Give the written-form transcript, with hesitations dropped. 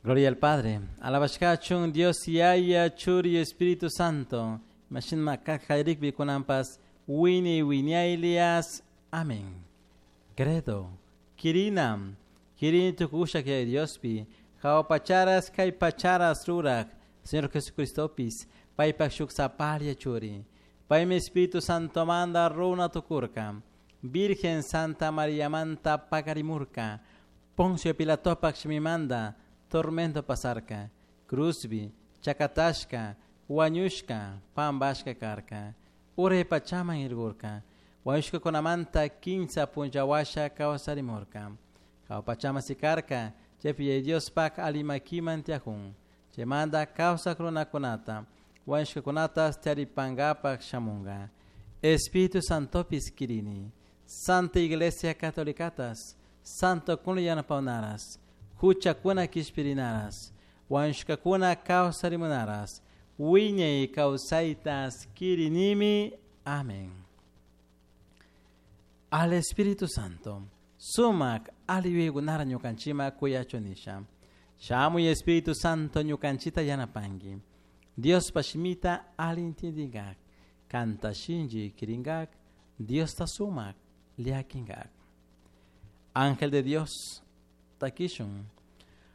Gloria al Padre. Alabashkachun Dios Yaya, Churi, Espíritu Santo. Mashinma kajayrikbi kunanpas wini wiñaylias. Amén. Credo. Kirinam. Kirini tukushak Yaya Diospi. Pacharas kay pacharas rurak. Señor Jesucristopis. Paypak shuk saparia churi. Paymi Espíritu Santo manda runa tukurka. Virgen Santa María manta pakarimurka. Poncio Pilatopak shimimanda tormento pasarka. Cruzbi, chakatashka, wañushka, pambashka karka. Uray pachaman irgurka. Wañushka kunamanta kinsa punllawasha kawsarimurka. Hawa pachaman sikarka, chaypi Diospak alimakiman tiyajun. Chaymanta kawsak runakunata, wañushkakunata taripankapak shamunka. Espíritu Santopis kirini. Santa Iglesia Catolicatas, Santo kuna yanapawnaras, huchakuna kishpirinaras, wañushkakuna kawsarimunaras, wiñay kawsaytas kirinimi. Amén. Al Espíritu Santo, sumak ali yuyaykunara ñukanchima kuyachunisha. Shamuy Espíritu Santo ñukanchita yanapanki. Diospa shimita ali intindingak, kanta shinchi kiringak, Diosta sumak llakinkak. Ángel de Dios, takishun.